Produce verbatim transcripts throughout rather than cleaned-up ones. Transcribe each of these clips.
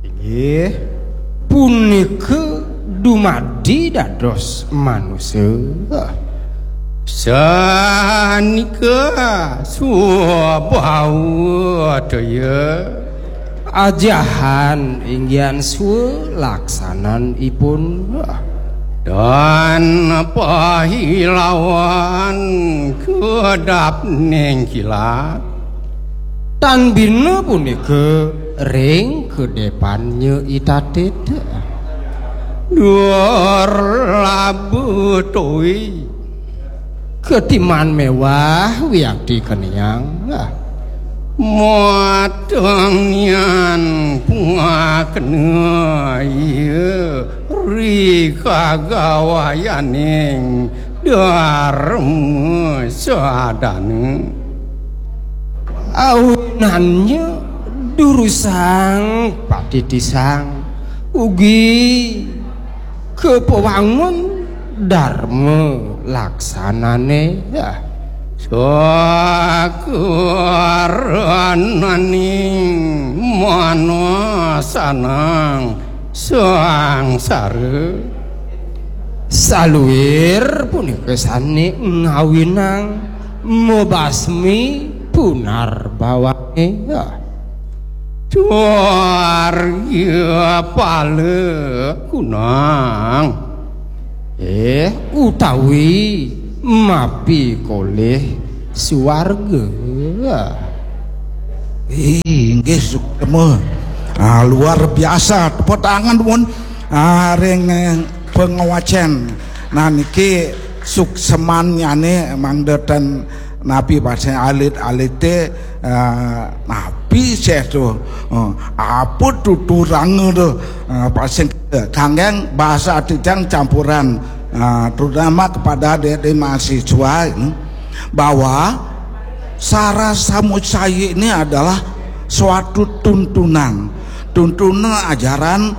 Inggih, punika dumadi dados manusa. Sanika swabawataya. Ajahan inggihan swa laksananipun. Dan pahilawan kedap ning kilat. Tan bina punika ring kedepannya itatit. Dur labu tui. Ketiman mewah wiakti keniang. Mateng nian puakna iya ri kagawayaning Dharma Sadana. Awinannya durusang patitisang ugi kepawangun dharma laksanane. Sakurananing manasanang sangsara. Saluir punika sane ngawinang mabasmi punarbawane. Swarga pala kunang. Eh, utawi mapikolih swarga. Inggih, suksma. Ah, luar biasa. Tepuk tangan, pun. Ah, ring, eh, pangwacen. Nah, niki suksemannyane mangda ten napi pasih alit-alite, eh, napi sih tu. Eh, apa tuturanga tu? Eh, pasih kanggeng bahasa tijang campuran, eh, terutama kepada adik-adik mahasiswa, hmm, bahwa sara samucaya ini adalah suatu tuntunan, tuntunan ajaran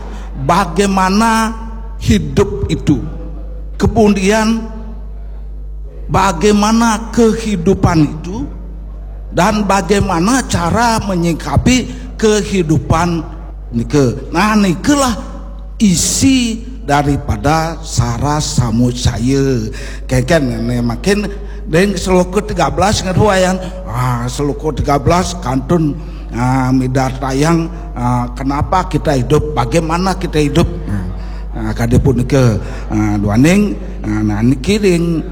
bagaimana hidup itu, kemudian bagaimana kehidupan itu, dan bagaimana cara menyikapi kehidupan nika. Nah, nikalah isi daripada sara samucaya. Kengken ne makin ring seloka tiga belas ngeruayan. Ah, seloka tiga belas kantun, ah, midartayang, ah, kenapa kita hidup, bagaimana kita hidup. Nah, ah, kadi punika, ah, duaning, ah, nah, niki ring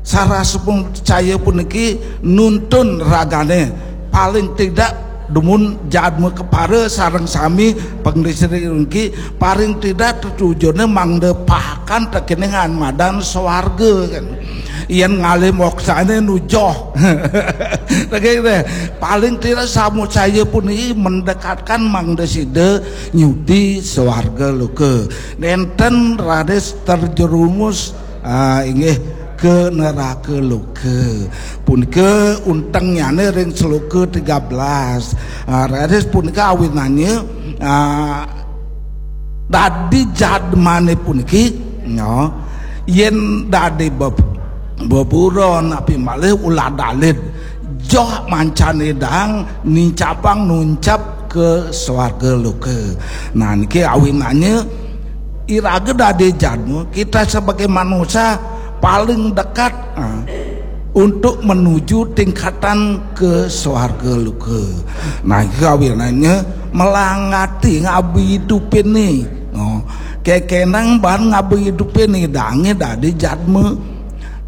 sara samucaya puniki nuntun ragane paling tidak dumun jadma kepara sareng sami pangdisri niki paling tidak tetujone mangda pahakan tekening madan swarga kan. Yen ngalih moksane nujoh. Tegese, paling tidak samucaya puniki mendekatkan mangda sida nyudi swarga loka. Nenten raris terjerumus, ah, inggih ke neraka loka. Punika untengnyane ring seloka tiga belas. Ah, raris punika awinannya, ah, dadi jadmane puniki, no, yen dadi beb-, beburon api malih ulah dalit, joh mancan idang nincapang nuncap ke swarga loka. Nah, niki awinannya iraga dadi jadma, kita sebagai manusia paling dekat, ah, untuk menuju tingkatan ke swarga loka. Nah, iki awinannya melangati ngabi hidupin nih. Oh, kekenang ban ngabi hidupin nih dange dadi jadma.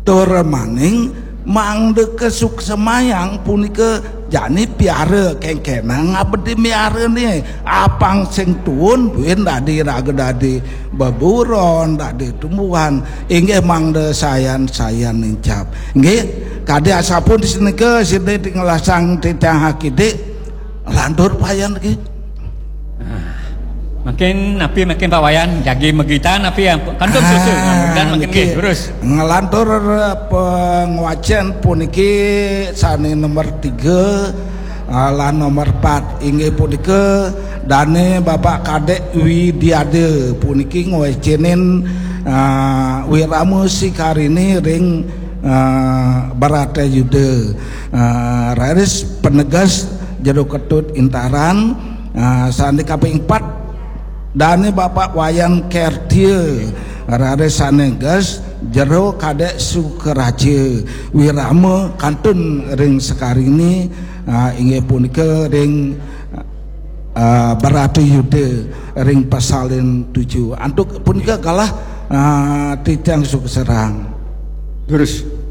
Tur maning mangda kesuksemayang punika jani piara kengkenang abdi miara nih. Apang sing tuun buin dadi raga dadi beburon, dadi tumbuhan. Inggih mangda sayan-sayan nincap. Inggih, kadi asapun senika sida tinglasang titah akidik. Lantur payan lagi. Ah, makin napi makin Pak Wayan jagi magita napi yang kantun susu. Ah, dan makin niki nggih, terus. Ngelantur pangwacen puniki sane nomor tiga, ah, lan nomor empat inggih punika dane Bapak Kadek Widiade puniki ngwecenin, ah, Wirama Sikarine ring, ah, Bharatayuda. Ah, raris penegas Jero Ketut Intaran, Ah, sané kaping pat, dané Bapak Wayan Kertia, raris sané ges, Jero Kadek Sukaraja, wirama kantun ring Sekarini, ah, inggih punika ring, ah, Barata Yuda ring pasalin tujuh. Antuk punika galah, ah, titiang suksrahang. Terus.